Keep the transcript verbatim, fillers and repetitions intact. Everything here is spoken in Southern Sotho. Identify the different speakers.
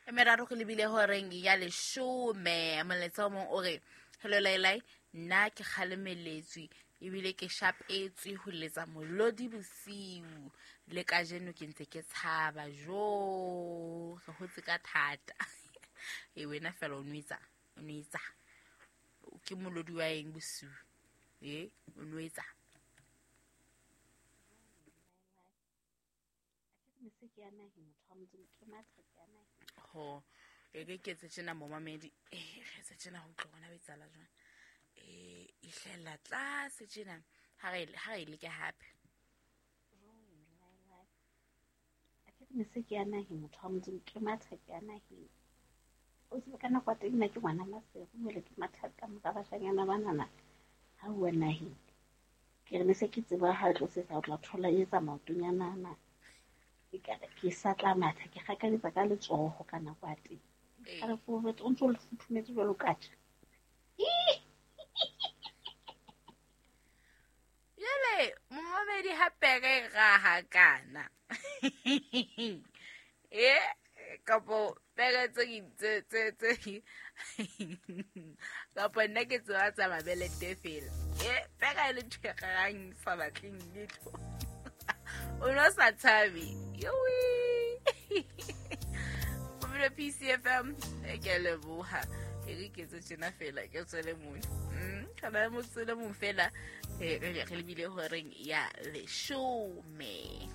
Speaker 1: E meraro re lebile horeng ya leshome. Molaetsa o mong o re, hello Lailai, nna ke kgalemeletswe ebile ke shapetswe ho letsa molodi bosiu. Le kajeno ke ntse ke tshaba. Jo, re hotse ka thata. E wena fela o nwetsa, o nwetsa. Ke molodi wa eng bosiu? E, o nwetsa. Ho, e ke ke etse tjena momamedi. Eh, re etse tjena ho utlwa bona o etsahala jwang. Eh, e hlahella tlase tjena. Ha re, ha re e leke hape.
Speaker 2: Mese ke ya naheng, motho wa Modimo, ke matha ke ya naheng. O tsebe ka nako ya teng nna ke ngwana Maseru, jwale ke matha ka mora bashanyana banana ha uwa naheng. Ke re ne se ke tseba ha tlo sesa o tla thola e etsa maotonyana ana. Ekare ke sa tla matha, ke kgakanyetsa ka letsoho ka nako ya teng. Ka re o o ntso le futhumetse jwalo ka tjha.
Speaker 1: Jwale momamedi ha pere e raha kana. E kapo pere tse tse tse tse kapo nna ke tseba tsa mabelete fela. E pere e le ntho e rarang sa batleng letho. O no sa tshabe. Yowi. Mamelo P C F M, e ke a leboha. E re ke etse tjena fela, ke tswele mona. Mm, ka ba mo tswele mong fela. E, re, re lebile horeng ya leshome.